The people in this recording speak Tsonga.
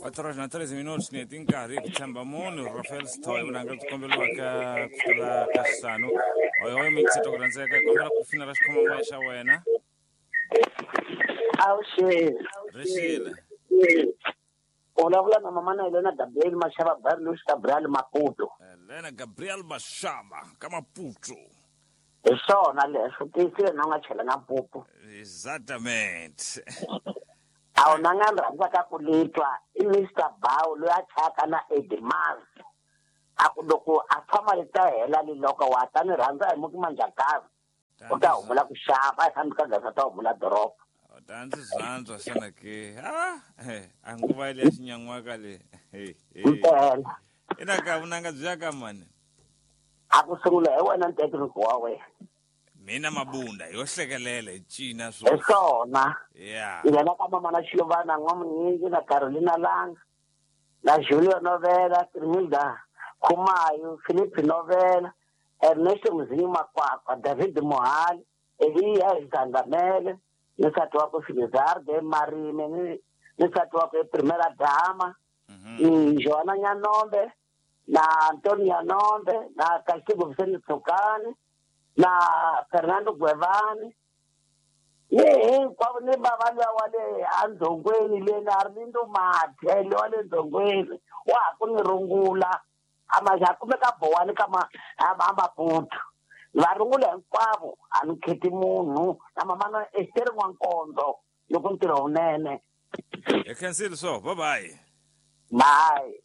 4 horas na 13 minutos ni tinkarhi ku tshemba munhu Rafael Sithole vunanga byi komberiwaka ku fikela ka xihlanu hoyohoyo mixito ku rhandzeka hi kombela ku finela xikhomamaya xa wena. Avuxeni. Rixile. U vulavula na mamana Helena Gabriel Mashava Barlus Gabriel Maputo. Helena Gabriel Mashava ka Maputo. Hi swona leswo tiyisile na u nga chelanga mpupu. Exatamente. A wu na nga ni rhandzaka ku ni twa i Mister Bow loyi a chayaka na Eddie Mars. A ku loko a tshama li ta hela li loko wa ta ni rhandza hi muki manjakazi. U ta humula ku xava a hi fambi ka gaza ta humula doroba. Ta ndzi zwandzwa xana ke? Ah, a nguva ya xinyan'waka le. Mpela. Ina ka vunanga byi ya ka mani? A ku sungula hi wena ntekiriko wa wena. Mina Mabunda yo hlekelela hi cina swo. Hi swona. Yeah. Nghena ka mama na Xiluvana N'wamunyingi na Carolina Langa na Julio Novela, Trimilda Khumayo, Philip Novela, Ernesto Mzinyi Makwakwa, David Mohali, Eliya Zandamele, ni nsati wakwe Filizarde Marime, ni nsati wakwe Primera Dama, ni Joana Nyanombe, na Antonio Nyanombe, na Castigo Vicente Tsukani, na Fernando Gwevani, ni hinkwavo ni bava luya wa le endzhongweni le na Arlindo Mathe le wa le ndzhongweni wa ha ku ni rungula a ma ha kumeka bowani ka ma a Maputo va rungula hinkwavo a ni kheti munhu na mamana Esther N'wankondzo loko ntirho wunene. Hi khensile so bye bye. Bye.